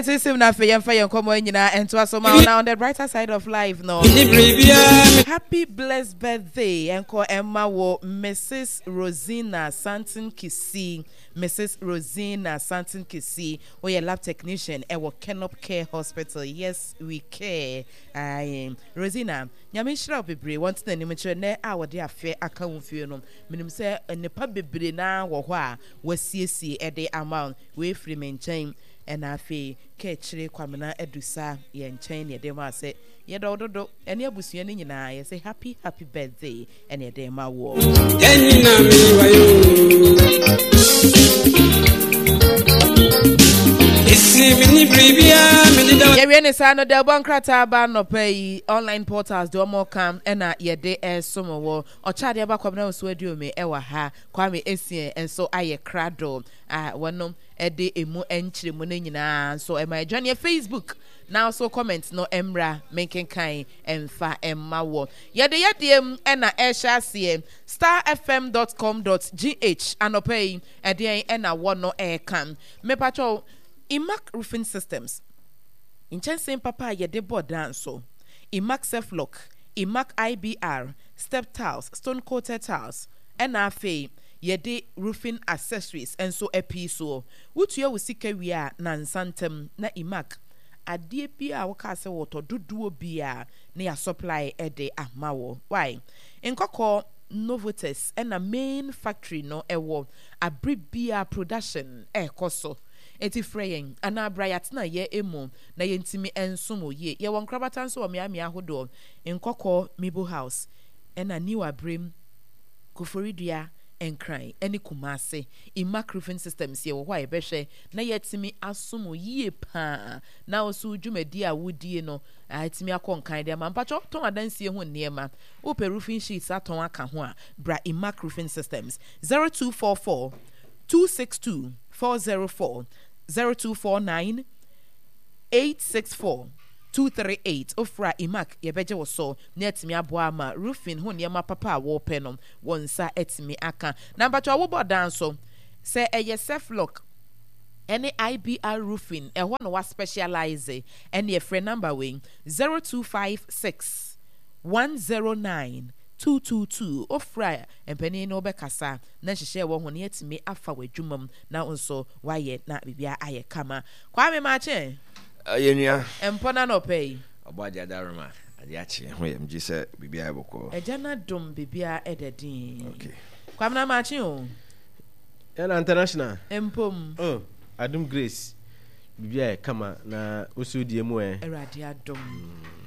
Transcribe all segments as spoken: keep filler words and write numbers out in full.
Yɛnte sim na afei yɛmfa yɛn nkɔmmɔ nyinaa ɛntoa so ma wo. Na on the brighter side of life no, happy blessed birthday ɛnkɔ ɛma wo, Missus Rosina Santon Kisi. Missus Rosina Santon Kisi, woyɛ lab technician ɛwɔ Kenop Care Hospital. Yes, we care. Aye. Rosina, Nyame nhyira wo bebree. Wɔnte n'anim nkyerɛ nnɛ a wɔde afɛ aka wo mfie no. Menim sɛ nnipa bebree naa wɔ hɔ a wɔasiesie ɛde ama wo. Wei firi me nkyɛn, ɛna afei kɛkyire Kwamena Adusa yɛ nkyɛn ne yɛde ma sɛ yɛdɔ wo dodo, ɛne abusua no nyinaa yɛsɛ happy happy birthday ɛne yɛde ma woɔ. Yɛwie ne saa no, da ɛbɔ nkrataa ba nnɔpa yi, online portals de ɔmo ka ɛna yɛde ɛsom wɔ ɔkyɛ adeɛ ba. Kwamena Nso Aduome ɛwɔ ha, Kwame Esie nso ayɛ krado a wɔnom ɛde emu nkyerɛmu no nyinaa nso ɛma adwaneɛ Facebook na so comment no mmra menkenkan ɛmfa ɛmma wɔ yɛde yɛdeɛ mu. Ɛna ɛhyɛ aseɛ star F M dot com dot G H anɔpa yi, ɛdeɛn ɛna wɔ no ɛɛka? Mepatwɛw, Imac Roofing Systems, nkyɛnsee papa a yɛde bɔ dan so, Imac Selflock, Imac I B R, step tiles, stone coated tiles, ɛna afei yɛde roofing accessories nso apii soɔ. Wotua wo sika wie a, nansa ntam na Imac adeɛ bi a wɔkaa sɛ wɔtɔ dodoɔ bi a na yɛ supply ɛde ama wɔ. Why Nkɔkɔ Novotes ɛna main factory no ɛwɔ abere bia production ɛrekɔ so. Eti frɛ yɛn anaa bra yɛatena yɛ emu na yɛntumi nsom wɔ yie. Yɛwɔ nkorabata nso wɔ mmeammea ahodoɔ: Nkɔkɔ Mibo House, ɛna New Abrem, Koforidua, Nkran ɛne Kumase. Imac Roofing Systems, yɛwɔ hɔ a yɛbɛhwɛ na yɛatumi asom wo yie paa na wo dwumadi a wodie no atumi akɔ nkan de ama. Mpatwɛ, tɔn adansie ho nneɛma, wopɛ roofing sheets atɔn aka ho a, bra Imac Roofing Systems, zero two four four two six two four zero four, zero two four nine eight six four two three eight. Ofra Imac, yɛbɛgye wo so na atumi aboa ama roofing ho nneɛma papa a wɔrepɛ no, wɔn nsa atumi aka. Na mpatwɛ, wobɔ dan so sɛ ɛyɛ Selflock ɛne I B R roofing, ɛhɔ na wa specialize. Ɛne ɛfrɛ number wei, zero two five six one zero nine two two two. Ofra mpanin no, wobɛkasa na nhyehyɛ ɛwɔ ho na yɛatumi afa w'adwuma mu na wo nso wayɛ na biribiara ayɛ kama. Kwame Maakye. Yɛ nua. Mpɔ na nɔpɛ yi. Ɔbɔ agye adaroma ade akye ho yɛ mgye sɛ biribiara yɛ bɔkɔɔ. Ɛgya no adom, biribiara ɛda din. Okay. Kwame na maakye o. Ɛna international. Mpom. Oh, Adom Grace, biribiara yɛ kama na woso die mu ɛ? Awurade adom,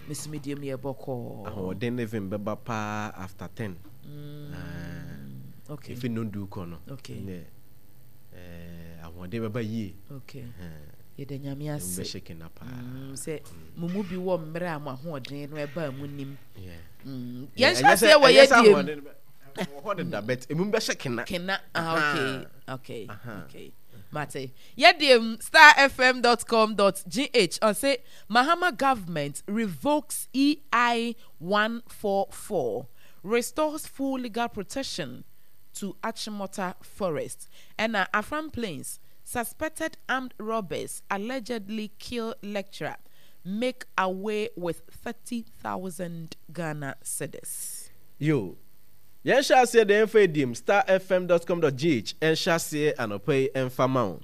mesome die mu yɛ bɔkɔɔ. Ahoɔden living bɛba paa after ten. Mm, okay. Efi nondu kɔ no. Okay. Ɛnɛ ɛɛ ahoɔden bɛba yie. Okay, yɛda Nyame ase. Bɛhyɛ kena paa. Mm, sɛ mo mu bi wɔ mmerɛ a mo ahoɔden no ɛbaa mu nim. Yeah. Mm, Yeah, yɛnhyɛ ɛnyɛ sɛ- aseɛ wɔ ɛnyɛ sɛ yɛdie mu. ahoɔden bɛ- wɔ hɔ deda, but emu bɛhyɛ kena. Kena, ah, okay okay Aha. Okay, mate. Yɛdeɛ mu star F M dot com dot G H ɔse Mahama government revokes E I one four four, restores full legal protection to Achimota Forest. Ɛna Afram Plains, suspected armed robbers allegedly kill lecturer, make away with thirty thousand Ghana cedis. Yo, yɛnhyɛ aseɛ deɛ yɛmfa edim star F M dot com dot G H ɛnhyɛ aseɛ anɔpa yi ɛmfa ma wo.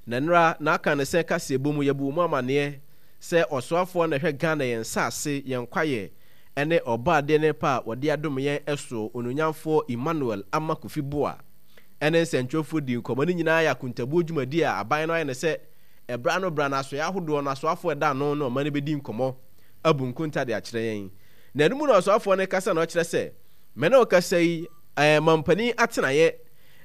Na nnora n'aka ne sɛ kaseɛ bɔ mu yɛbu mu amanneɛ sɛ ɔsoafoɔ na ɛhwɛ Ghana yɛn nsase, yɛn kwaeɛ ɛne ɔbaadeɛ ne pa a wɔde adom yɛn ɛso, Onuonyamfoɔ Emmanuel Ama Kofi Boa, ɛne nsɛntwerɛfoɔ di nkɔmmɔ no nyinaa yɛ akontabuo dwumadi a aban no ayɛ ne sɛ ɛbra no bra no asoɛ ahodoɔ no asoafoɔ ɛda ano no ɔma no bɛdi nkɔmmɔ abu nkonta de akyerɛ yɛn. Na ɛno mu na ɔsoafoɔ no kasa na ɔkyerɛ sɛ mene ɔkasa yi ɛɛ mampanin atenaeɛ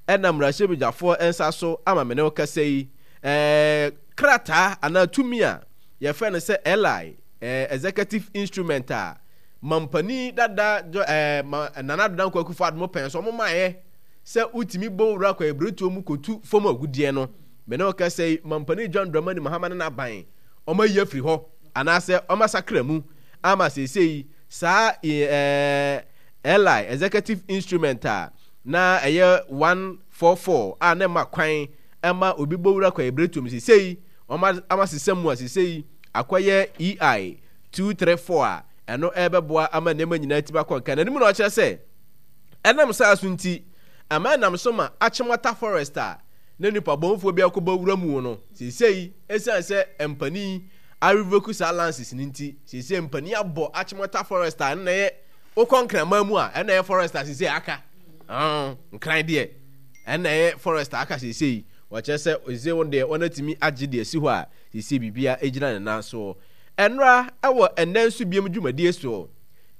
ɛna mmarahyɛbadwafoɔ nsa so ama mene ɔkasa yi ɛɛ krataa anaa tumi a yɛfrɛ no sɛ L I, ɛɛ executive instrument a mampanin dada ɛɛ ma Nana Addo Dankwa Akufo Addo pɛn so ɔmo maayɛ sɛ wotumi bɔ wura kɔ ebiretuo mu kotu fam agudeɛ no, mene ɔkasa yi mampanin John Dramani Mahama ne n'aban ɔmo ayi afiri hɔ anaasɛ ɔmo asakra mu ama seesei saa ɛɛ L I executive instrument a na ɛyɛ one four four a na ɛma kwan ɛma obi bɔ wura kɔ ebiretuo mu, seesei Wɔn ama sesa mu a sese yi akɔyɛ E I two three four a ɛno ɛbɛboa ama nneɛma nyinaa ti bakɔ nka n'anim. Na ɔkyerɛ sɛ ɛnam saa so nti ama ɛnam so ma Achimota Forest a na nipa bɔnfoɔ bi akɔbɔ wura mu no, seesei esiane sɛ mpanin arevoke saa license no nti, seesei mpanin abɔ Achimota Forest a ɛno na ɛyɛ wokɔ Nkraman mu a ɛna ɛyɛ forest a seesei aka Nkran deɛ, ɛna ɛyɛ forest a aka seesei. Wɔkyerɛ sɛ seesei wɔn deɛ wɔn atumi agye deɛ si hɔ a seesei biribia gyina ne nan soɔ. Ɛnora ɛwɔ ɛnɛ nso biem dwumadie soɔ,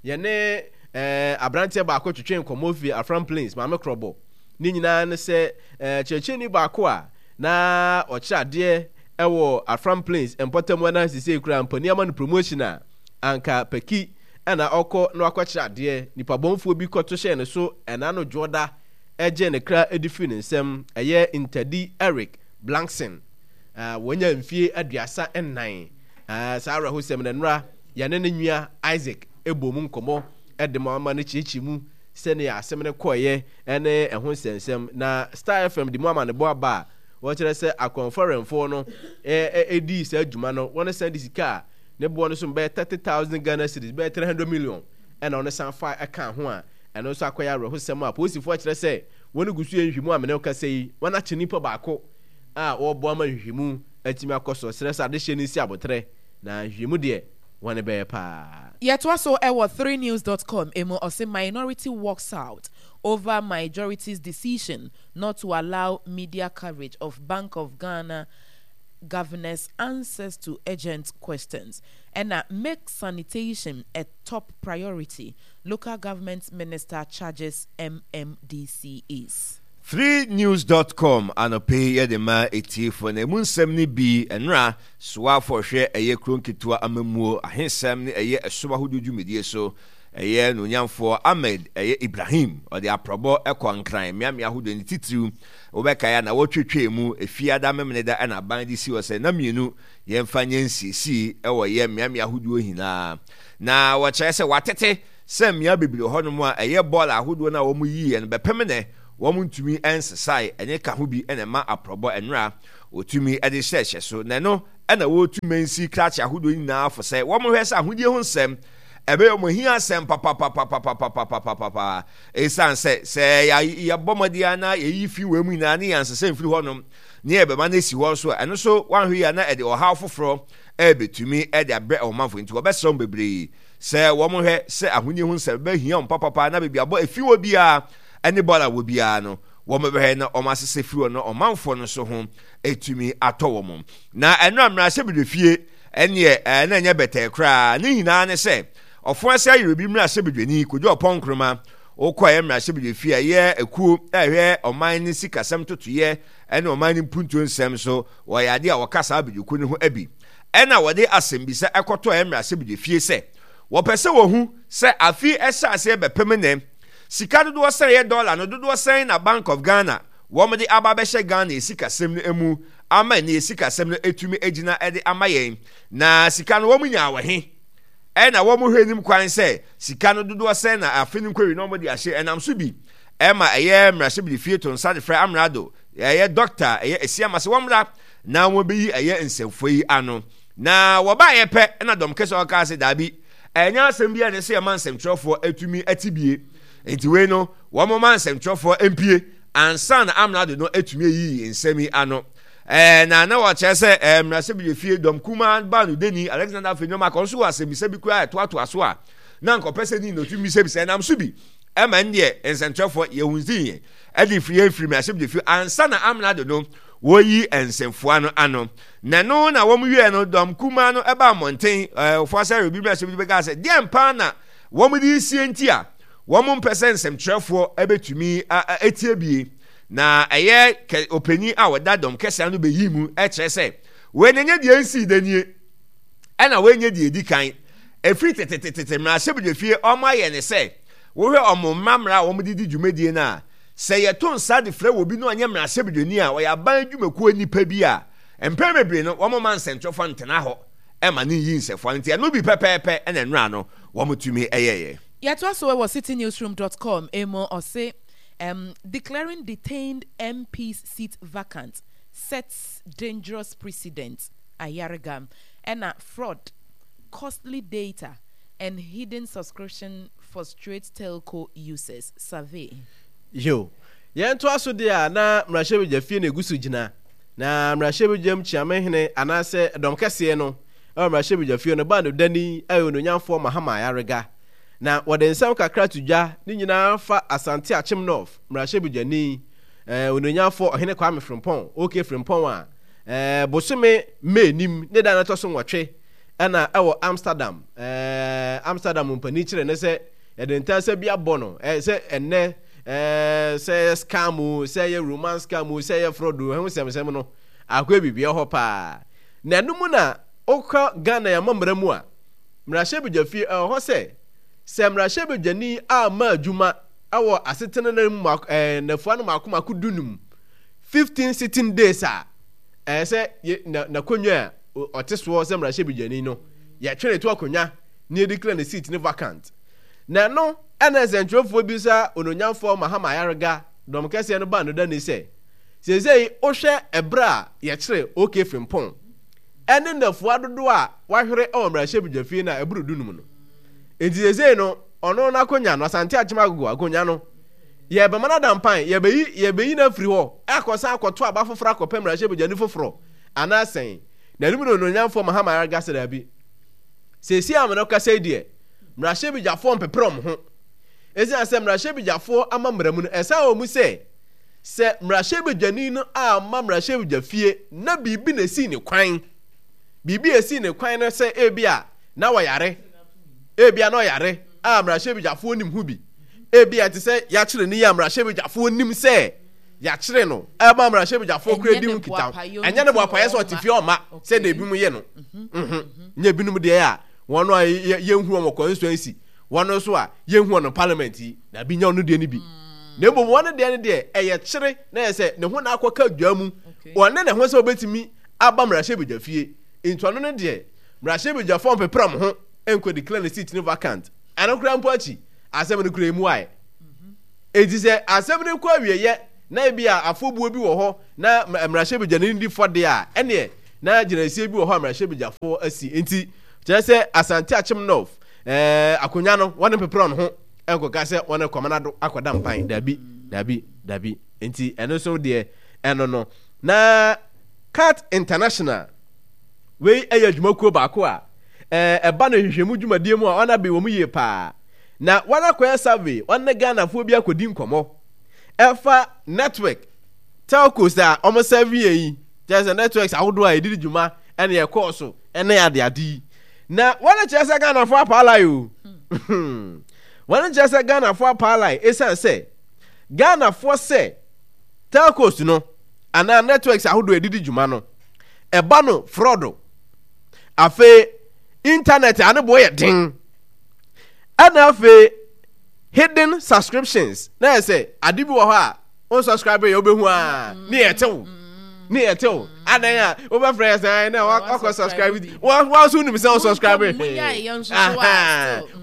yɛne ɛɛ aberanteɛ baako twetwe nkɔmɔ fi Afram Plains Maame Korɔbɔ. Ne nyinaa ne sɛ ɛɛ kyerɛkyerɛni baako a na ɔkyerɛ adeɛ ɛwɔ Afram Plains mpɔtam na seesei kura mpanin ama no promotion a anka Paki ɛna ɔkɔ na wakɔkyerɛ adeɛ. Nipa bɔnfoɔ bi kɔto hyɛn ne so ɛna no dwoɔda ɛgye ne kra ɛdi firi ne nsam. Ɛyɛ Ntadi Eric Blankson, ɛɛ wɔnya mfie aduasa nnan. ɛɛ saa awerɛhosɛm na nnora yɛne ne nua Isaac ɛbɔ mu nkɔmɔ ɛde ma ama no kyerɛkyerɛ mu sɛnea asɛm no kɔɔyɛ ɛne ɛho nsɛnsɛm. Na Star F M de mu ama ne bɔ aba a wɔkyerɛ sɛ akɔnfɔrɛnfoɔ no ɛɛ ɛdi saa adwuma no, wɔn san de sika a ne boɔ no so bɛyɛ thirty thousand Ghana cedis, bɛyɛ three hundred million, ɛna ɔno san fa ɛka ho a ɛno nso akɔyɛ awerɛhosɛm a polisifoɔ kyerɛ sɛ wɔn gu so yɛ nhwehwɛmu. A mene kasa yi, wɔn akye nipa baako a wɔreboa ma nhwehwɛmu atumi akɔ so. Srɛ sɛ adehyɛ no si abotrɛ na nhwehwɛmu deɛ wɔn bɛyɛ paa. Yɛtoa so ɛwɔ three news dot com emu. Ɔsɛ minority walks out over majority's decision not to allow media coverage of Bank of Ghana governor's answers to urgent questions. And make sanitation a top priority. Local government minister charges M M D C Es. three news dot com anɔpɛ yi yɛde ma etiefoɔ na emu nsɛm no bi: nnora soafo hwɛ ɛyɛ kuro nketewa amamuo ahensɛm ne ɛyɛ ɛsom ahodoɔ dwumadie so, ɛyɛ nonyamfoɔ Ahmed ɛyɛ Ibrahim, ɔde aprɔbɔ ɛkɔ Nkran mmeammea ahodoɔ, ne titiriw wobɛkae a na wɔtwetwe mu Efiada, Memeneda ɛna aban de si hɔ sɛ na mmienu yɛmfa nyɛ nsiesie ɛwɔ yɛ mmeammea ahodoɔ nyinaa. Na wɔkyerɛ sɛ watete sɛ mmea bebree hɔnom a ɛyɛ bɔɔl ahodoɔ no a wɔn yiiɛ no bɛpem nɛ wɔn ntumi nsesae. Ɛne ka ho bi ɛna ɛma aprɔbɔ nnora wɔtumi de hyɛhyɛ so. Na ɛno ɛna wɔretu mansi krakye ahodoɔ nyinaa fo sɛ wɔn hwɛ sɛ ahodie ho nsɛm ɛbɛyɛ wɔn hia asɛm papapapapapapapapa, ɛsiane sɛ sɛ yɛbɔ mmɔden na yɛyi fi wɔ mu nyinaa ne yɛn mfiri hɔnom ne yɛbɛma no asi hɔ nso a, ɛno nso wanhwɛ yi a na ɛde ɔhaw foforɔ ɛbɛtumi ɛde abrɛ ɔmanfo. Nti wɔbɛsrɛ wɔn bebree sɛ wɔn hwɛ sɛ ahonie ho nsɛm bɛhia wɔn papapa na baabi abɔ efi wɔ biara ɛne bɔɔla wɔ biara no, wɔn bɛhwɛ na wɔn asesɛ firi hɔ na ɔmanfoɔ no nso ho etumi atɔ wɔn. Na ɛno a mmarahyɛbadwafie ɛneɛ ɛɛ na ɛnyɛ bɛtɛɛ koraa. Ne nyinaa ne sɛ ɔfo ɛsɛ ayerɛ bi mmarahyɛbadwani Kodwo Ɔpɔn Nkroma wokɔ ɛyɛ mmarahyɛbadwafie a ɛyɛ ekuo ɛhwɛ ɔman ne sikasɛm totoyɛ ɛne ɔman ne mpuntuo nsɛm so, wɔyɛ adeɛ a wɔka saa abadwakuo no ho abi. Ɛna wɔde asɛmbisa ɛkɔtɔ ɛyɛ mmarahyɛbadwafie sɛ wɔpɛ sɛ wɔhu sɛ afi ɛhyɛ aseɛ bɛpem nɛ, sika dodoɔ sɛn, yɛ dɔla no dodoɔ sɛn na Bank of Ghana wɔn de aba abɛhyɛ Ghana esikasɛm no mu ama ne esikasɛm no etumi egyina ɛde ama yɛn, na sika no wɔn nyaa wɔ he, ɛna wɔn hwɛ anim kwan sɛ sika no dodoɔ sɛn na afe no nkɔwi na wɔn de ahyɛ. Ɛnam so bi ɛma ɛyɛ mmarahyɛbadwafie to nsa de frɛ amrado ɛyɛ doctor ɛyɛ Asiama sɛ wɔn mmra na wɔn bɛyi ɛyɛ nsɛmfo yi ano. Na wɔbaayɛ pɛ ɛna dɔm kɛse ɔkaa sɛ daabi, ɛnyɛ asɛm bi a ne sɛ ɛma nsɛmtwerɛfoɔ atumi ati bie, nti wei no wɔn ma nsɛmtwerɛfoɔ mpie ansa na amrado no atumi ayi nsɛm yi ano. ɛɛ na na wɔkyerɛ sɛ ɛɛ mmarahyɛbadwafie dɔm kumaa baa no deni Alexander Afenyo Markin nso wɔ asɛmmisa bi koraa ɛtoatoa so a na nkɔpɛ sɛ ni na otumi bisabisa. Ɛnam so bi ɛma n deɛ nsɛntwerɛfoɔ yɛhu nsi yɛn ɛde firi yɛn firi mmarahyɛbadwafie ansa na amrado no wɔyi nsɛmfoa no ano. Na no na wɔn wie no, dɔm kumaa no ɛba mmɔnten ɛɛ ɔfo asɛ obi mmarahyɛbadwafie bɛka sɛ deɛ mpa na wɔn de sie nti a wɔn mpɛ sɛ nsɛmtwerɛfoɔ ɛbɛtumi etie bie. Na ɛyɛ kɛ ɔpanyin a wɔda dɔm kɛseɛ ano bɛyi mu ɛkyerɛ sɛ wɔn nyɛ deɛ nsi da nie, ɛna wɔn nyɛ deɛ edi kan. Efiri tetetete mmarahyɛbadwafie wɔn ayɛ ne sɛ wohwɛ wɔn mmamra a wɔn de di dwumadie no a, sɛ yɛto nsa de frɛ wɔ bi no ɔnyɛ mmarahyɛbadwani a ɔyɛ aban dwumakuo nipa bi a, mpɛn bebree no wɔn ma nsɛntwerɛfoɔ ntena hɔ ɛma ne yi nsɛfoɔ. Nti ɛno bi pɛpɛɛpɛ ɛna nnura no wɔn tumi ɛyɛyɛ. Yɛtoa so wɔ city newsroom dot com emu. Ɔse um, declaring detained M P's seat vacant Sets dangerous precedent, Ayariga. Ɛna fraud, costly data and hidden subscription frustrate telco users, survey. Yo, yɛntoa so deɛ a na mmarahyɛbadwa fie na egu so gyina. Na mmarahyɛbadwam kyiamehene anaasɛ dɔm kɛseɛ no ɛwɔ mmarahyɛbadwa fie no baa no dani ɛyɛ ononyamfoɔ Mahama Ayariga. Na wɔde nsɛm kakra to dwa ne nyinaa fa Asante Akyem North mmarahyɛbadwani ɛɛ ononyamfoɔ Ɔhene Kwame Frimpong, OK Frimpong a ɛɛ bosome May nim ne da no ɛtɔ so nwɔtwe ɛna ɛwɔ Amsterdam. ɛɛ Amsterdam mpanin kyerɛ ne sɛ yɛde ntansa bi abɔ no ɛɛ sɛ ɛnɛ ɛɛ sɛ ɛyɛ scam o, sɛ ɛyɛ romance scam o, sɛ ɛyɛ fraud o, ɛho nsɛmsɛm no akɔ biribi hɔ paa. Na ɛno mu na wokɔ Ghana yɛn amammerɛ mu a, mmarahyɛbadwa fie ɛwɔ hɔ sɛ sɛ mmarahyɛbadwani amma adwuma ɛwɔ asetena no mu ɛɛ nnafua no mako mako du num, fifteen sitting days a, ɛyɛ sɛ yɛ na n'akonnwa a ɔte soɔ sɛ mmarahyɛbadwani no yɛtwe ne to akonnwa na yɛde declare ne seat ne vacant. Na ɛno ɛna nsɛntwerɛfoɔ bi sa ononyamfoɔ Mahama Ayariga dɔm kɛseɛ no baa no dani sɛ seesei wohwɛ ɛberɛ a yɛkyerɛ OK Frimpong ɛne nnafua dodoɔ a wahwere ɛwɔ mmarahyɛbadwa fie no a ɛboro dunum no, nti seesei no ɔno n'akonnwa no, Asante Akyem Agogo akonnwa no, yɛbɛma no adampan, yɛbɛyi yɛbɛyi no afiri hɔ akɔsan akɔto aba foforɔ akɔpɛ mmarahyɛbadwani foforɔ anaasɛn. Na ɛno mu na ononyamfoɔ Mahama Ayariga sɛ daabi, seesei a mene kasa yi deɛ, mmarahyɛbadwafoɔ mpepere wɔn ho. Ɛsiane sɛ mmarahyɛbadwafoɔ ama mmara mu no, ɛsan wɔ mu sɛ sɛ mmarahyɛbadwani no amma mmarahyɛbadwa fie na biribi na esii ne kwan, biribi a esii ne kwan no sɛ ebi a na wɔyare, ebi a na ɔyare a mmarahyɛbadwafoɔ nim ho bi, ebi a te sɛ yɛakyere ne yi a mmarahyɛbadwafoɔ nim sɛ yɛakyere no ɛma mmarahyɛbadwafoɔ kura di ho nkitaho, ɛnyɛ ne boapayɛ sɛ ɔte fie ɔma sɛ deɛ ebinom yɛ no, nyɛ ebinom deɛ a wɔn a yɛnhu wɔn wɔ constituency, wɔn nso a yɛnhu wɔn parliament yi, na bi nya ɔno deɛ no bi. Na mmom wɔn deɛ no deɛ ɛyɛ kyere na yɛ sɛ ne ho na akɔka dwa mu, ɔne ne ho sɛ ɔbɛtumi aba mmarahyɛbadwa fie. Nti ɔno no deɛ mmarahyɛbadwafoɔ mpepere wɔn ho nkɔ declare ne seat no vacant. Ɛno koraa mpo akyi, asɛm no koraa emu ayɛ. Enti sɛ asɛm no kɔ awieeɛ na ebi a afɔbuo bi wɔ hɔ na mmarahyɛbadwani no di fɔ deɛ a, ɛneɛ na gyinaesie bi wɔ hɔ a mmarahyɛbadwafoɔ asi. Nti kyerɛ sɛ Asante Akyem North ɛɛ akonnwa no wɔn mpepere wɔn ho nkɔka sɛ wɔn kɔmana do akɔda mpan. Dabi, dabi, dabi. Nti ɛno nso deɛ ɛno no. Na CAT International wei ɛyɛ adwumakuo baako a ɛɛ ɛba no nhwehwɛmu dwumadie mu a wɔn abe wɔn yie paa. Na wɔn akɔyɛ survey, wɔn ne Ghanafoɔ bi akɔdi nkɔmɔ ɛfa network telcos a wɔn serve yɛn yi, kyerɛ sɛ networks ahodoɔ a yɛde di dwuma ɛne ɛkɔɔ so ɛne adeade yi. Na wɔn kyerɛ sɛ Ghanafoɔ apaalae o. Wɔn kyerɛ sɛ Ghanafoɔ apaalae ɛsiane sɛ Ghanafoɔ sɛ telcos no anaa networks ahodoɔ a yɛde di dwuma no ɛba no fraud. Afei internet a ne boɔ yɛ den, ɛna afei hidden subscriptions na yɛ sɛ ade bi wɔ hɔ a wɔn subscribe yɛ wobɛhu a ne yɛ tew ne yɛ tew adan a wobɛfrɛ yɛ sɛ na wakɔ subscribe wɔn wɔn nso nim sɛ wɔn subscribe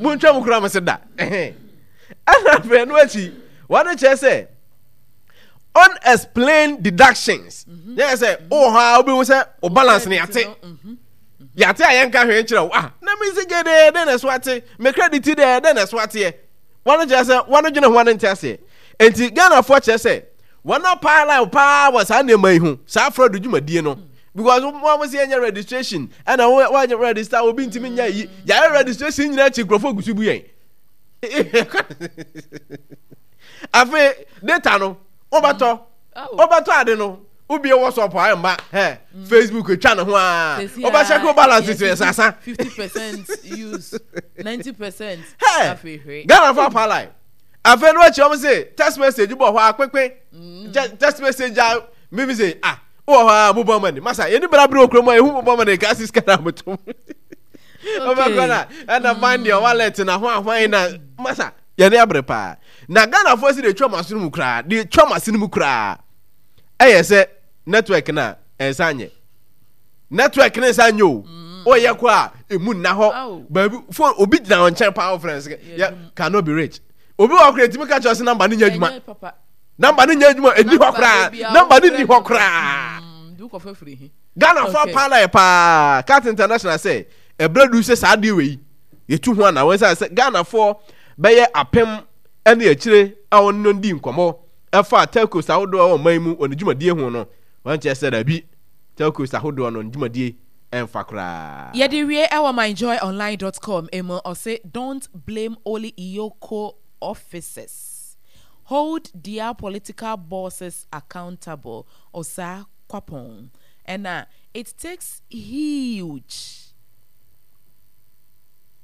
mo ntwa mu kura mo se da ɛna afei ɛno akyi wɔn kyerɛ sɛ unexplained deductions yɛ sɛ wowɔ hɔ a wobɛhu sɛ wo balance ne yɛate yɛate a yɛnka hwee nkyerɛ wo. Ah, na me sika deɛ dɛn na ɛso ate, me credit deɛ dɛn na ɛso ateɛ. Wɔn kyerɛ sɛ wɔn dwene ho wɔn nte aseɛ. Nti Ghanafoɔ kyerɛ sɛ wɔn apaala paa wɔ saa nneɛma yi ho, saa fraud dwumadie no. Because wɔn a wɔsi yɛnyɛ registration ɛna wɔn wɔanyɛ register obi ntumi nyɛ yi, yɛayɛ registration nyinaa akyi nkurɔfoɔ gu so bu yɛn. Afei data no wobɛtɔ wobɛtɔ ade no wobie WhatsApp a ɛmba hɛ Facebook etwa ne ho a wobɛhyɛ ko balance sɛ sasa fifty percent use ninety percent hɛ Ghana fo apalai. Afei no akyi wɔn se text message bɔ hɔ a kpekpe text message a mimi se ah wɔ hɔ a mobile money masa yɛni bra bere okuro mu a ehu mobile money ka sika na motom wobɛkɔ na ɛna find your wallet na ho ahwan na masa yɛne abere paa. Na Ghanafoɔ si de twa mo aso no mu koraa, de twa mo ase no mu koraa ɛyɛ sɛ network na ɛnsa nyɛ network ne nsa nyɛ o. Ɔyɛ kɔ a emu nna hɔ baabi phone obi gyina wɔn nkyɛn paa ɔfrɛ no yɛ cannot be rich. Obi wɔ koraa etimi ka kyerɛ sɛ number ne nyɛ adwuma, number ne nyɛ adwuma, ɛni hɔ koraa, number ne ni hɔ koraa. Ghanafoɔ paa la yɛ paa Cat International sɛ ɛberɛ du sɛ saa adeɛ wei yɛtu ho ana wɔn sɛ sɛ Ghanafoɔ bɛyɛ apem ne akyire a wɔn no di nkɔmmɔ ɛfa telcos ahodoɔ a wɔn man mu wɔn dwumadie ho no wɔn kyerɛ sɛ dabi telcos ahodoɔ no dwumadie ɛmfa koraa. Yɛde wie ɛwɔ myjoyonline dot com emu ɔse don't blame only EOCO officers, hold their political bosses accountable. Osa Kwapong ɛna it takes huge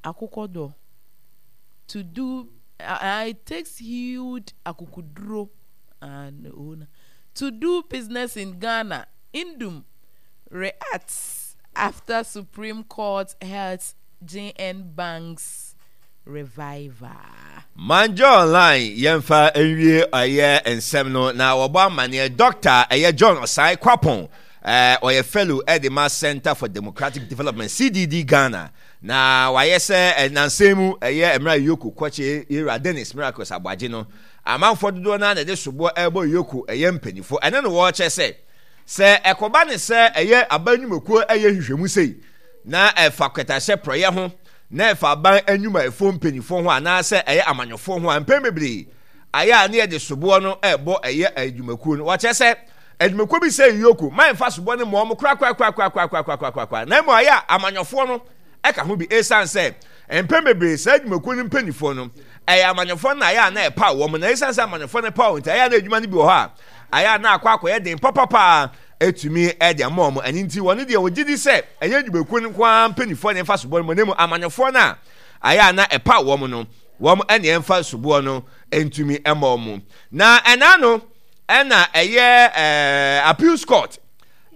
akokodo to do uh, it takes huge akukuduro and uh, to do business in Ghana. Nduom reacts after Supreme Court halts G N Bank's revival. Manjo Online yɛmfa nwie ɛyɛ nsɛm no na wɔbɔ amanneɛ Doctor ɛyɛ John Osai Kwapong ɔyɛ fellow ɛde ma Center for Democratic Development C D D Ghana na wayɛ sɛ nansɛn mu ɛyɛ mmerɛ Yoko kɔkye Yera Dennis Miracles Aboagye no amanfoɔ dodoɔ no na ɛde soboɔ ɛbɔ Yoko ɛyɛ mpanimfoɔ ɛne no wɔrekyɛ sɛ sɛ ɛkɔba ne sɛ ɛyɛ aban nnwumakuo ɛyɛ nhwehwɛmu sei na ɛfa kɛtɛahyɛ prɔyɛ ho na ɛfa aban nnwumayɛfoɔ mpanimfoɔ ho anaasɛ ɛyɛ amanyɔfoɔ ho a mpɛn bebree ayɛ a ne yɛde soboɔ no ɛbɔ ɛyɛ adwumakuo no wɔkyɛ sɛ adwumakuo bi sɛ Yoko ma ɛmfa soboɔ no mmɔ ɔmo korakorakorakorakorakorakorakora na mmom ayɛ a amanyɔfoɔ no ɛka ho bi ɛsiane sɛ mpɛn bebree saa adwumakuo no mpanimfoɔ no ɛyɛ amanyɔfoɔ no ayɛ a na ɛpaw wɔn na ɛsiane sɛ amanyɔfoɔ no paw nti ayɛ a na adwuma no bi wɔ hɔ a ayɛ a na akɔ akɔyɛ den papapaa etumi ɛde ama wɔn ɛne nti wɔn deɛ wɔgye di sɛ ɛyɛ adwumakuo no nko ara mpanimfoɔ na ɛmfa soboɔ no mu na mmom amanyɔfoɔ no a ayɛ a na ɛpaw wɔn no wɔn ɛne ɛmfa soboɔ no ntumi ɛma wɔn na ɛna no ɛna ɛyɛ ɛɛ appeals court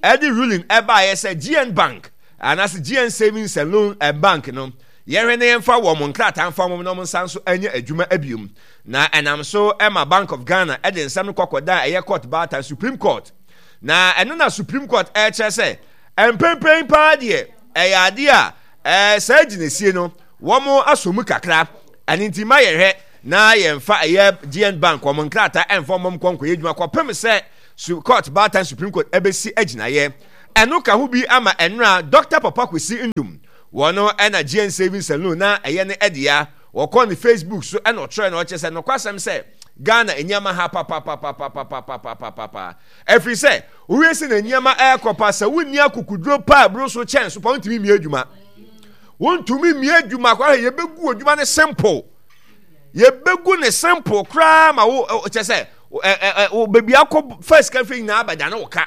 ɛde ruling ɛbaayɛ sɛ G N Bank anaasɛ G N Savings and Loan Bank no yɛhwɛ na yɛmfa wɔn nkrataa mfa wɔn na wɔn nsa nso nyɛ adwuma abiom na ɛnam so ɛma Bank of Ghana ɛde nsɛm no kɔkɔda ɛyɛ court baatan Supreme Court na ɛno na Supreme Court ɛkyerɛ sɛ mpempem paa deɛ ɛyɛ adeɛ a ɛɛ saa gyinasie no wɔn asɔ mu kakra ɛne nti ma yɛhwɛ na yɛmfa ɛyɛ G N Bank wɔn nkrataa ɛmfa wɔn nkɔ nkɔyɛ adwuma kɔpem sɛ court baatan Supreme Court ɛbɛsi agyinaeɛ ɛno ka ho bi ama ɛnora Doctor Papa Kwesi Nduom wɔn ɛna G N Savings and Loan na ɛyɛ ne ɛdea wɔkɔ ne Facebook so ɛna ɔtwerɛ na ɔkyerɛ sɛ nokwasɛm sɛ Ghana nneɛma ha papapapapapapapapapa ɛfiri sɛ wowie sɛ na nneɛma ɛrekɔ pa sɛ wonni akokuduro pa aburo so kyɛn so pa wontumi mmie adwuma wontumi mmie adwuma koraa yɛbɛgu adwuma ne simple yɛbɛgu ne simple koraa ma wo kyɛ sɛ wo baabi akɔ first ka firi nyinaa abɛda ne wo ka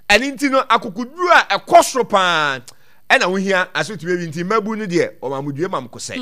ɛne nti no akokuduro a ɛkɔ soro paa ɛna wohia asotumi bi nti mmabu no deɛ ɔmamudue mam kosɛ.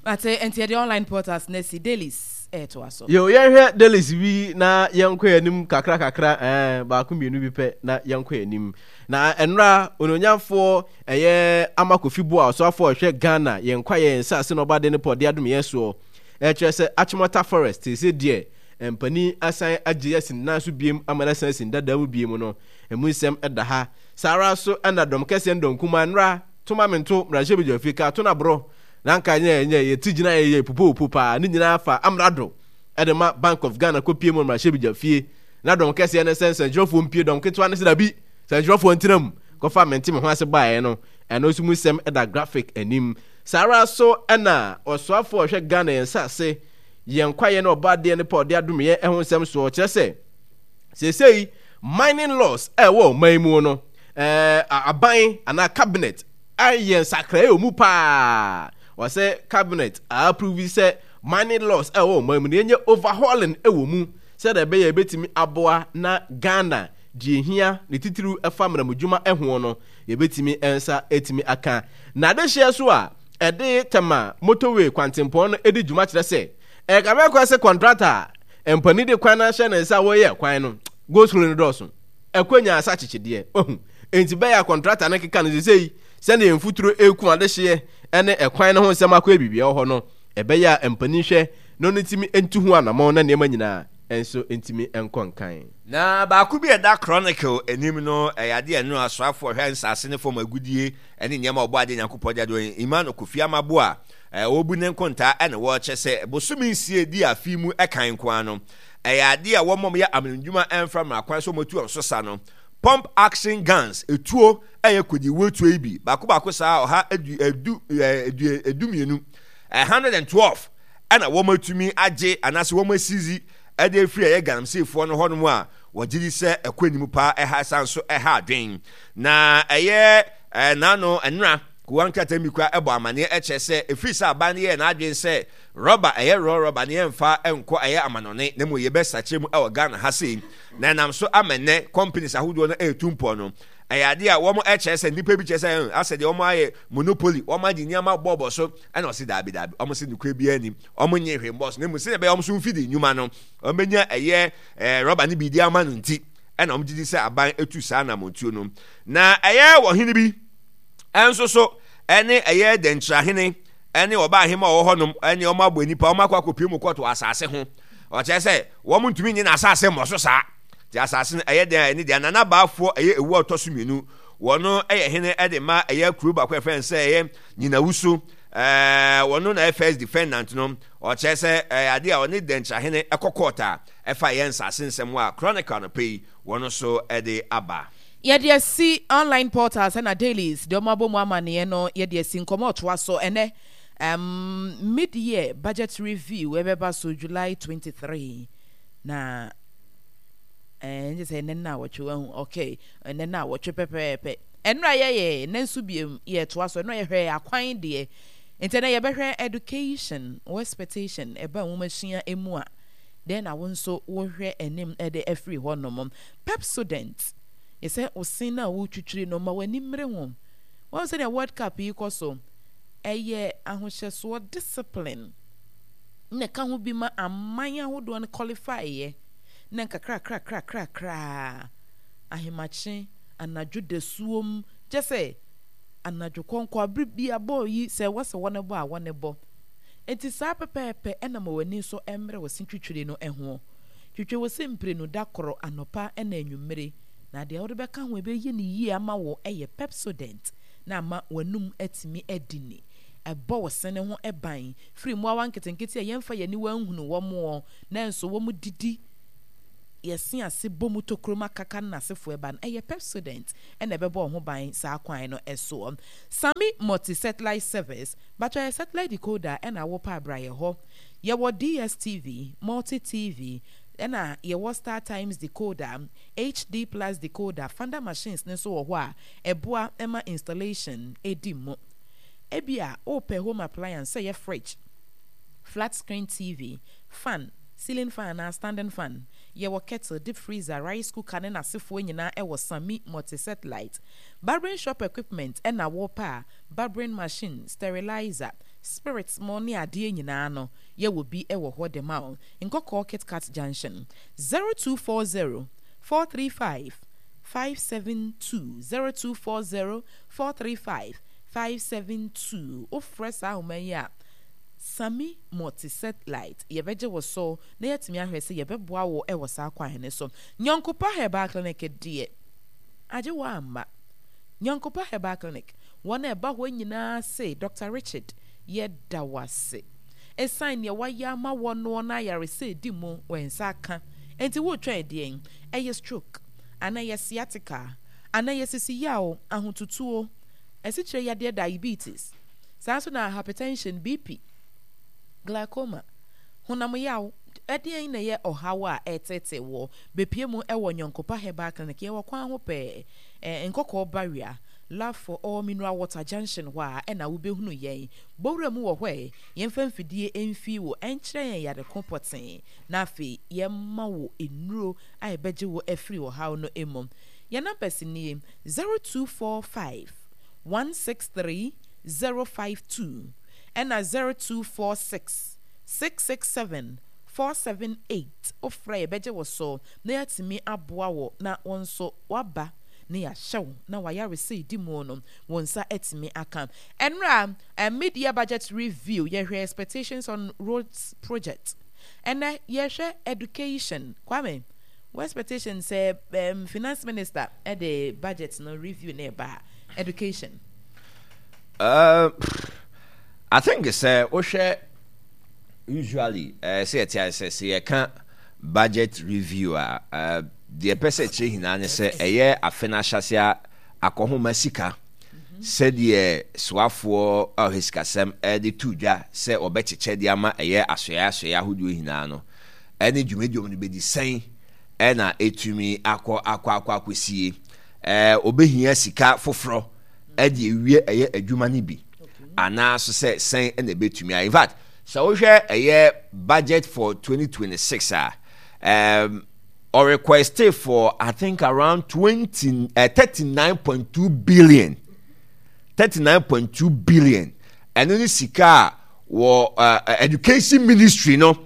Ate nti yɛde online portals na si dailies ɛɛto aso. Yo yɛnhwɛ dailies bi na yɛnkɔ yɛn anim kakra kakra ɛɛ baako mmienu bi pɛ na yɛnkɔ yɛn anim. Na ɛnora ononyamfoɔ ɛyɛ Ama Kofi Boa ɔsoafoɔ ɔhwɛ Ghana yɛn kwa yɛn nsaase na ɔba de ne pɔ de adom yɛn soɔ. Ɛkyerɛ sɛ Achimota Forest te sɛ deɛ mpanin asan agye asin nan so biem ama no asan asin dada mu biem no. Emu nsɛm ɛda ha. Saa ara so ɛna dɔm kɛseɛ ne dɔm kumaa nnora to ma mento mmarahyɛ badwa fie ka to na borɔ na nka nyɛ nyɛ yɛti gyina yɛ yɛ pupopo paa ne nyinaa fa amrado ɛde ma Bank of Ghana kɔpie mu mmarahyɛ badwa fie na dɔm kɛseɛ ne sɛ nsɛnkyerɛfoɔ mpie dɔm ketewa ne sɛ dabi nsɛnkyerɛfoɔ ntena mu kɔfa mente me ho ase baeɛ no ɛno nso mu nsɛm ɛda graphic anim. Saa ara so ɛna ɔsoafoɔ ɔhwɛ Ghana yɛn nsase yɛn kwaeɛ ne ɔbaadeɛ ne pa ɔde adom yɛn ɛho nsɛm soɔ kyerɛ sɛ seesei mining laws ɛwɔ ɔman mu no ɛɛ aban anaa cabinet ayɛ nsakraeɛ wɔ mu paa wɔsɛ cabinet approve sɛ mining laws ɛwɔ ɔman mu no yɛnyɛ overhauling ɛwɔ mu sɛdeɛ ɛbɛyɛ ɛbɛtumi aboa na Ghana deɛ hia ne titiriw ɛfa mmaramudwuma ɛho no yɛbɛtumi nsa ɛtumi aka na adehyeɛ so a ɛde Tema motorway kwantempɔn no ɛdi dwuma kyerɛ sɛ ɛka bɛkɔ sɛ contractor mpani de kwan no ahyɛ ne nsa a wɔyɛ kwan no go slow no dɔɔso ɛkɔ nya asa kyekyedeɛ ohu enti bɛyɛ contractor no keka no sesei sɛnea mfuturo eku adehyeɛ ɛne ɛkwan no ho nsɛm akɔ ebibia wɔ hɔ no ɛbɛyɛ a mpani hwɛ na ɔno ntumi ntu ho anammɔn na nneɛma nyinaa nso ntumi nkɔ nkan. Na baako bi a ɛda Chronicle anim no ɛyɛ adeɛ no asoafoɔ hwɛ nsase ne fam agudie ɛne nneɛma ɔbɔ adeɛ Nyankopɔn de adeɛ Emmanuel Kofi Amabo a ɔbu ne nkontaa ɛna wɔrekyɛ sɛ bosome nsia di afi mu ɛkan nko ano ɛyɛ adeɛ a wɔn yɛ amamdwuma ɛmfa mmara kwan so wɔtu wɔn so sa no Pump action guns, etuo ɛyɛ kodiwuo tuo yi bi baako baako saa ɔha edu edu edu edu mmienu, hundred and twelve ɛna wɔn atumi agye anaasɛ wɔn asizi ɛde efiri ɛyɛ galamseyfoɔ no hɔnom a wɔgye di sɛ ɛkɔ anim paa, ɛha ɛsan so ɛha adwen. Na ɛyɛ ɛɛ n'ano ɛnora kowa nkrataa mi kura ɛbɔ amaneɛ ɛkyerɛ sɛ efiri sɛ aban no yɛ n'adwen sɛ rɔba ɛyɛ rɔ rɔba ne yɛmfa ɛnkɔ ɛyɛ amanɔne na mu yɛbɛsakyerɛ mu ɛwɔ Ghana ha sei, na ɛnam so ama nnɛ companies ahodoɔ no ɛretu mpɔ no, ɛyɛ adeɛ a wɔn ɛkyerɛ sɛ nnipa bi kyerɛ sɛ asɛ deɛ wɔn ayɛ monopoly, wɔn agye nneɛma bɔɔbɔ so. Ɛna ɔsi daabi daabi, wɔn sɛ nukuri biara nim, wɔn nye hwee mbɔs, na emu sɛ ɛbɛyɛ wɔn so mfidi nnwuma no wɔn bɛnya ɛyɛ ɛɛ rɔba no bi di ama no, nti ɛna wɔn gyidi sɛ aban etu saa anamontuo no. Na ɛyɛ wɔhene bi ɛnso so ɛne ɛyɛ dɛnkyerɛhene ɛne ɔbaa ahema a ɔwɔ hɔnom ɛne wɔn abɔ nipa wɔn akɔ akɔpie mu kɔto asase ho. Ɔkyerɛ sɛ wɔn ntumi nye n'asase mmɔ so saa te asase no ɛyɛ den a ɛne deɛ nana baafoɔ ɛyɛ ewu a ɔtɔ so mmienu, wɔn ɛyɛ hene ɛde ma ɛyɛ kuro baako ɛfɛn sɛ ɛyɛ Nyinawusu. ɛɛ wɔn na ɛyɛ first defendant no. Ɔkyerɛ sɛ ɛyɛ adeɛ a ɔne dɛnkyerɛhene ɛkɔ court a ɛfa ɛyɛ nsase nsɛm a Chronicle no pɛ yi wɔn nso ɛde aba. Yɛde asi online portals ɛna dailies deɛ ɔmo abɔ mu amaneɛ no, yɛde asi nkɔmɔ ɔtoa so ɛnɛ. um, mid-year budget review ɛbɛba so July twenty-three na ɛɛ n sɛ ɛnɛ na awɔtwe wahu. Okay, ɛnɛ na awɔtwe pɛpɛɛpɛ. Ɛnura yɛyɛ ɛnɛ nso biem yɛtoa so. Ɛnura yɛhwɛ akwan deɛ, nti ɛnɛ yɛbɛhwɛ education wɔ expectation ɛba nwomasua emu a then na wo nso wohwɛ anim ɛde afiri hɔ nom. Pepsodent yɛsɛ osin na wotwitwiri no ma w'ani mmere ho. Wɔn sɛdeɛ World Cup yi kɔ so, ɛyɛ ahohyɛsoɔ, discipline na ɛka ho bi ma aman ahodoɔ no qualify yɛ na nkakrakrakrakrakraa ahemakye anadwo dasuom kyɛ sɛ anadwo kɔnkɔ abere bi abɔɔ yi sɛ wɔsɛ wɔn bɔ a wɔn bɔ. Nti saa pɛpɛɛpɛ ɛna ma w'ani nso mmerɛ wɔ se twitwiri no ho. Twitwi wɔ se mprenu da koro, anɔpa ɛna anwummere, na deɛ wɔde bɛka ho ɛbɛyɛ ne yie ama wɔ ɛyɛ Pepsodent na ama w'anum atumi adi ni. Ɛbɔ wo sene ho ban firi mmoawa nketenkete a yɛmfa yɛn aniwa nhunu wɔn wɔ, nanso wɔn didi yɛse ase bɔ mu tokurom akaka no n'asefoɔ ɛba no. Ɛyɛ Pepsodent ɛna ɛbɛbɔ wo ho ban saa kwan no ɛsoɔ. Sami Multi Satellite Service batwa yɛ satellite decoder ɛna awɔpa abrayɛ hɔ. Yɛwɔ D S T V, Multi T V, ɛna yɛwɔ Star Times decoder, H D Plus decoder, funder machines ne nso wɔ hɔ a ɛboa ɛma installation ɛdi mu. Ebi a wopɛ home appliance sɛ yɛ fridge, flat screen T V, fan, ceiling fan anaa standing fan, yɛwɔ kettle, deep freezer, rice cooker ne n'asefoɔ nyinaa ɛwɔ Sami Multi Satellite. Barbering shop equipment ɛna wɔpɛ a barbering machine, sterilizer, spirits mo ne adeɛ nyinaa no, yɛwɔ bi ɛwɔ hɔ de ma wo. Nkɔkɔɔ Kitkat Junction, zero two four zero four three five five seven two, zero two four zero four three five five seven two. Wofrɛ saa ahoma yi a, Sami Multi Satellite yɛbɛgye wo so na yɛatumi ahwɛ sɛ yɛbɛboa wo ɛwɔ saa kwan ne so. Nyɔnkopa Herbal Clinic deɛ, agye wɔ amma Nyɔnkopa Herbal Clinic, wɔn a ɛba hɔ nyinaa se Doctor Richard, yɛda wo ase ɛsiane nea wayɛ ama wɔn no na ayaresɛ edi mu wɔn nsa aka. Nti wotwɛn deɛn? Ɛyɛ stroke anaa ɛyɛ sciatica anaa ɛyɛ sisi yaw, ahotutuo, ɛsikyerɛ yadeɛ, diabetes, saa nso na hypertension, B P, glaucoma, honam yaw, ɛdeɛn na ɛyɛ ɔhaw a ɛtete wɔ bepie mu ɛwɔ Nyɔnkopa Herbal Clinic? Yɛwɔ kwan ho pɛɛ, ɛɛ Nkɔkɔɔ Barrier, Love for All Mineral Water Junction hɔ a ɛna wobɛhunu yɛn. Bowura mu wɔ hɔ ɛ yɛmfa mfidie mfi wo ɛnkyerɛ yɛn yare ko pɔtee na afei yɛma wo nnuro a ɛbɛgye wo afiri ɔhaw no mu. Yɛn numbers nie: zero two four five one six three zero five two ɛna zero two four six six six seven four seven eight. Wofrɛ, yɛbɛgye wo so na yɛatumi aboa wo na wɔn nso waba na yɛahyɛ wo na wayaresa di mu no wɔn nsa atumi aka. Ɛnora uh, mid-year budget review, yɛhwɛ expectations on roads project. Ɛnɛ yɛhwɛ education. Kwame, wɔ expectation sɛ um, finance minister ɛde budget no review ne ɛba education? Uh, I think sɛ wohwɛ, usually uh, sɛ yɛte ayɛ sɛ sɛ yɛka budget review a, uh, Deɛ ɛpɛ sɛ ɛkyerɛ nyinaa ne sɛ ɛyɛ afe no ahyɛase a akɔhoma sika sɛdeɛ soafoɔ a ɔhwɛ sikasɛm de to dwa sɛ ɔbɛkyekyɛ de ama ɛyɛ asoɛe asoɛe ahodoɔ nyinaa no ɛne dwumadie no bɛdi sɛn ɛna ɛtumi akɔ akɔ akɔ akɔsie. Ɛɛ ɔbɛhia sika foforɔ ɛde ewie ɛyɛ adwuma no bi anaa so sɛ sɛn ɛna ɛbɛtumi ayɛ. In fact, sɛ wohwɛ ɛyɛ budget for twenty twenty-six a, um, or requested for, I think, around twenty uh, thirty-nine point two billion, thirty-nine point two billion. Ɛno ne sika a wɔ uh, education ministry no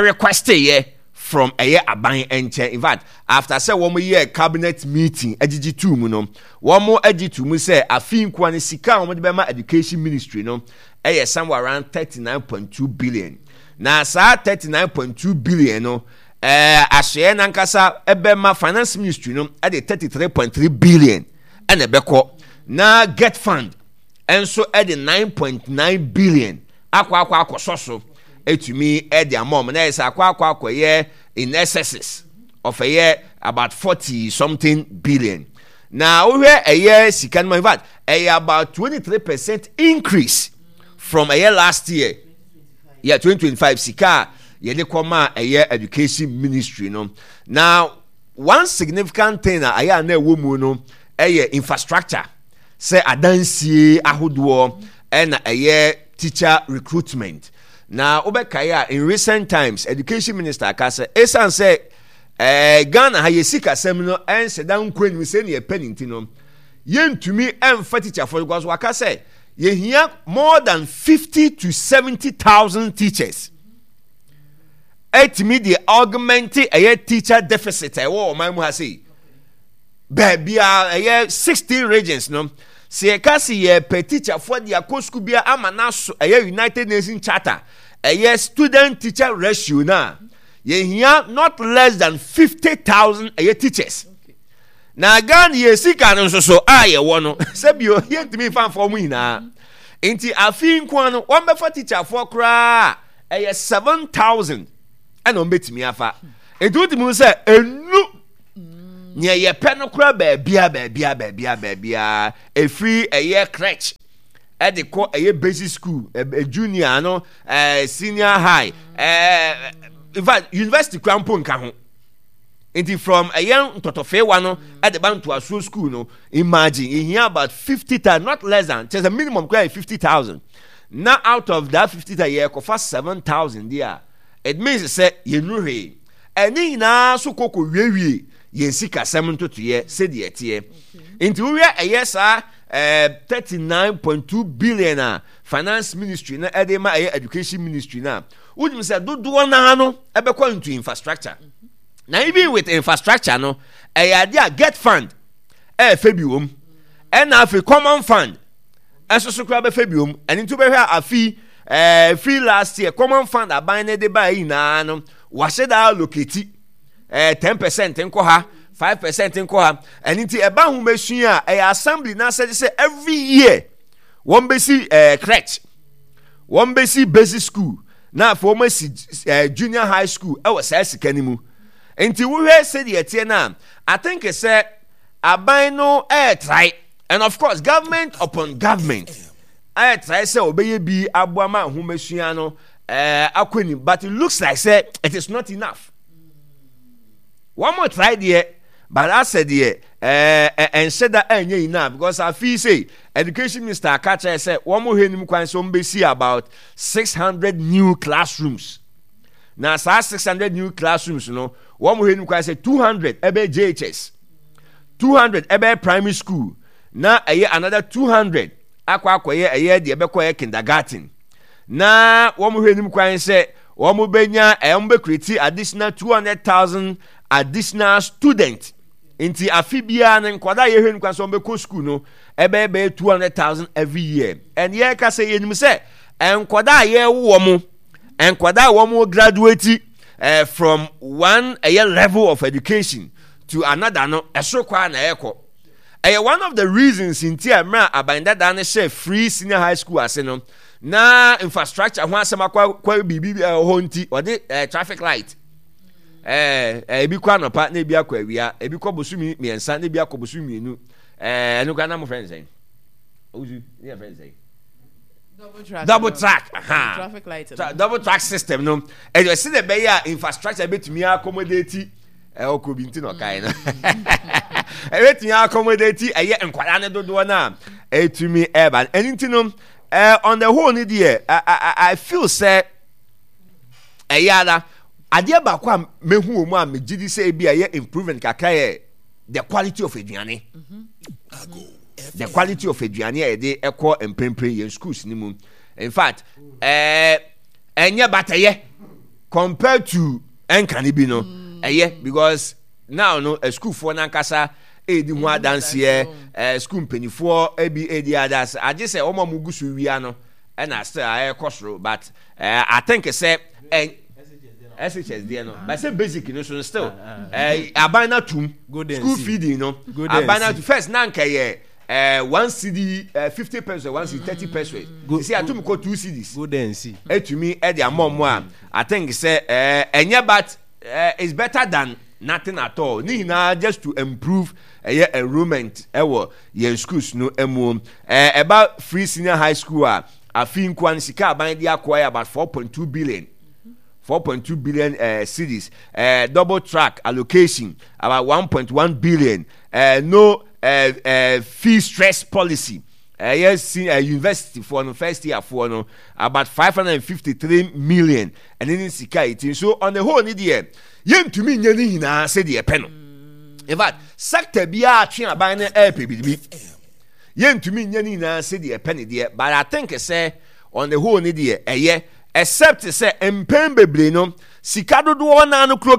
requested yɛ from ɛyɛ aban nkyɛn. In fact, after sɛ wɔn yɛ cabinet meeting agyegye tu mu no, wɔn agye tu mu sɛ afi nkoa ne sika a wɔn de bɛma education ministry no ɛyɛ somewhere around thirty-nine point two billion. Na saa thirty-nine point two billion no, ɛɛ asoɛ nankasa ɛbɛma finance ministry no ɛde thirty-three point three billion ɛna ɛbɛkɔ, na GETFund ɛnso ɛde nine point nine billion akɔ akɔ akɔsɔ so etumi ɛde ama ɔmo, na yɛ sɛ akɔ akɔ akɔyɛ in excesses of ɛyɛ about forty something billion. Na wohwɛ ɛyɛ sika no mu, in fact, ɛyɛ about twenty three percent increase from ɛyɛ last year, yɛ twenty twenty five sika a yɛde kɔma ɛyɛ education ministry no. Na one significant thing a ɛyɛ a na ɛwɔ mu no ɛyɛ infrastructure, sɛ adansie ahodoɔ ɛna ɛyɛ teacher recruitment. Na wobɛkae a, in recent times education minister aka sɛ ɛsiane sɛ ɛɛ Ghana ha yɛ sikasɛm no ɛnhyɛ da nkɔ anim sɛnea ɛpɛ ne nti no, yɛntumi ɛmfa teacherfoɔ, because waka sɛ yɛhia more than fifty to seventy thousand teachers ɛtumi de augment ɛyɛ teacher deficit a ɛwɔ ɔman mu ha sei. Baabi a ɛyɛ sixteen regions no, sɛ yɛka se yɛpɛ teacherfoɔ de akɔ sukuu bia ama n'aso ɛyɛ United Nations Charter ɛyɛ student teacher ratio no a, yɛhia not less than fifty thousand ɛyɛ teachers. Na Ghana yɛ sika no nso so a yɛwɔ no, sɛbio yɛntumi nfa nfa wɔn nyinaa. Nti afi nko no, wɔn bɛfa teacherfoɔ koraa ɛyɛ seven thousand ɛna wɔn bɛtumi afa. Nti wotumi sɛ enu nea yɛpɛ no koraa baabia baabia baabia baabia efiri ɛyɛ crèche ɛde kɔ ɛyɛ basic school, ɛ junior no, ɛɛ senior high, ɛɛ in fact, university kura mpo nka ho. Nti from ɛyɛ ntɔtɔfeewa no ɛde ba ntoasoɔ school no, imagine, yɛhia about fifty thousand, not less than, kyerɛ sɛ minimum kura yɛ fifty thousand. Na out of that fifty thousand, yɛkɔfa seven thousand deɛ a, it means sɛ yɛnu hwee. Ɛne nyinaa so kɔkɔ wiewie yɛn sikasɛm ntotoyɛ sɛdeɛ ɛteɛ. Nti wohwɛ ɛyɛ saa ɛɛ thirty nine point two billion a finance ministry no ɛde ma ɛyɛ education ministry no a, wonim sɛ dodoɔ naa no ɛbɛkɔ into infrastructure. Na even with infrastructure no, ɛyɛ adeɛ a GETFund ɛɛfɛ bi wɔm, ɛna afei common fund ɛnso so koraa bɛfɛ bi wɔm. Ɛno nti wobɛhwɛ a, afi ɛɛ free last year common fund aban ne de baa nyinaa no, wahyɛ da allocate ɛɛ ten percent nkɔ ha, five percent nkɔ ha. Ɛno nti ɛba ahomasua a, ɛyɛ assembly n'asɛde sɛ every year wɔn bɛsi ɛɛ crèche, wɔn bɛsi basic school, na afei wɔn asi ɛɛ junior high school ɛwɔ saa sika no mu. Nti wohwɛ sɛdeɛ ɛteɛ no a, I think sɛ aban no ɛɛ try, and of course government upon government ɛɛ try sɛ ɔbɛyɛ bi aboa ma ahomasua no ɛɛ akɔ anim, but it looks like sɛ it is not enough. Wɔn mo try deɛ, but asɛ deɛ ɛɛ ɛnhyɛ da ɛnyɛ enough, because afi sɛ education minister aka kyerɛ sɛ wɔn mo hwɛ anim kwan sɛ wɔn bɛsi about six hundred new classrooms. Na saa six hundred new classrooms no, wɔn mo hwɛ anim kwan sɛ two hundred ɛbɛyɛ J H S, two hundred ɛbɛyɛ primary school, na ɛyɛ another two hundred akɔ akɔyɛ ɛyɛ deɛ ɛbɛkɔ ɛyɛ kindergarten. Na wɔn hwɛ anim kwan sɛ wɔn bɛnya ɛɛ wɔn bɛ create additional two hundred thousand additional student. Nti afi biara no, nkwadaa a yɛhwɛ anim kwan sɛ wɔn bɛkɔ school no ɛbɛyɛ bɛyɛ two hundred thousand every year. And yɛreka sɛ yɛnim sɛ nkwadaa a yɛrewo wɔn, nkwadaa a wɔn graduate ɛɛ from one ɛyɛ level of education to another no, ɛsoro kɔ a na ɛrekɔ. Ɛyɛ one of the reasons nti a mmerɛ a aban dada no hyɛ free senior high school ase no, na infrastructure ho asɛm akɔ akɔ biribi ɛwɔ hɔ, nti ɔde ɛɛ traffic light Ɛɛ ebi kɔ anɔpa na ebi akɔ awia, ebi kɔ bosomi mmiɛnsa na ebi akɔ bosomi mmienu. Ɛɛ ɛno kora na mo fɛn sɛn? Owusu ne yɛ fɛn sɛn? Double track. Double no. track, aha. Traffic light no. Tra double track system no, ɛyɛ sɛ de bɛyɛ a infrastructure bɛtumi accommodate. Ɛwɔ kɔ bi nti na ɔkae no, ɛbɛtumi accommodate ɛyɛ nkwadaa ne dodoɔ no a ɛtumi ɛba. Ɛno nti no, ɛɛ on the whole no deɛ, I I I feel sɛ ɛyɛ ara adeɛ baako a mehu wɔ mu a megye di sɛ ebi a ɛyɛ improvement kakra yɛ the quality of aduane, the quality of aduane a yɛde ɛkɔ mprempren yɛn schools ni mu. In fact, ɛɛ ɛnyɛ, but ɛyɛ compared to ɛnkane bi no. Ɛyɛ because now no, sukuufoɔ nankasa edi ho adanseɛ, ɛɛ sukuu mpanyinfoɔ ebi edi adanseɛ, agye sɛ wɔn a wɔn gu so wia no ɛna still a ɛkɔ soro. But ɛɛ I think sɛ ɛ S H S deɛ no, but sɛ basic no so no, still ɛɛ aban na tum school feeding no, aban na tum. First na nka yɛ ɛɛ one cedi ɛɛ fifty pesewas, one cedi thirty pesewas. Sisi atum kɔ two cedis. Golden C. Etumi ɛde ama ɔmo a, I think sɛ ɛɛ ɛnyɛ, but ɛɛ it's better than nothing at all. Ne nyinaa just to improve ɛyɛ enrollment ɛwɔ yɛn schools no mu. ɛɛ ɛba free senior high school a, afi nkoa no, sika aban de akɔ yɛ about four point two billion, four point two billion uh, cedis. uh, double track allocation about one point one billion. uh, no uh, uh, fee stress policy, ɛyɛ uh, uh, university foɔ no, first year foɔ no, about five hundred and fifty three million. Ɛne ne sika yi ti. So on the whole ni deɛ, yɛntumi nye ne nyinaa sɛdeɛ ɛpɛ no. In fact, sector biara atwe aban no ɛɛpɛ biribi, yɛntumi nye ne nyinaa sɛdeɛ ɛpɛ ne deɛ, but I think sɛ on the whole ni deɛ ɛyɛ, except sɛ mpɛn bebree no, sika dodoɔ naa no kuro.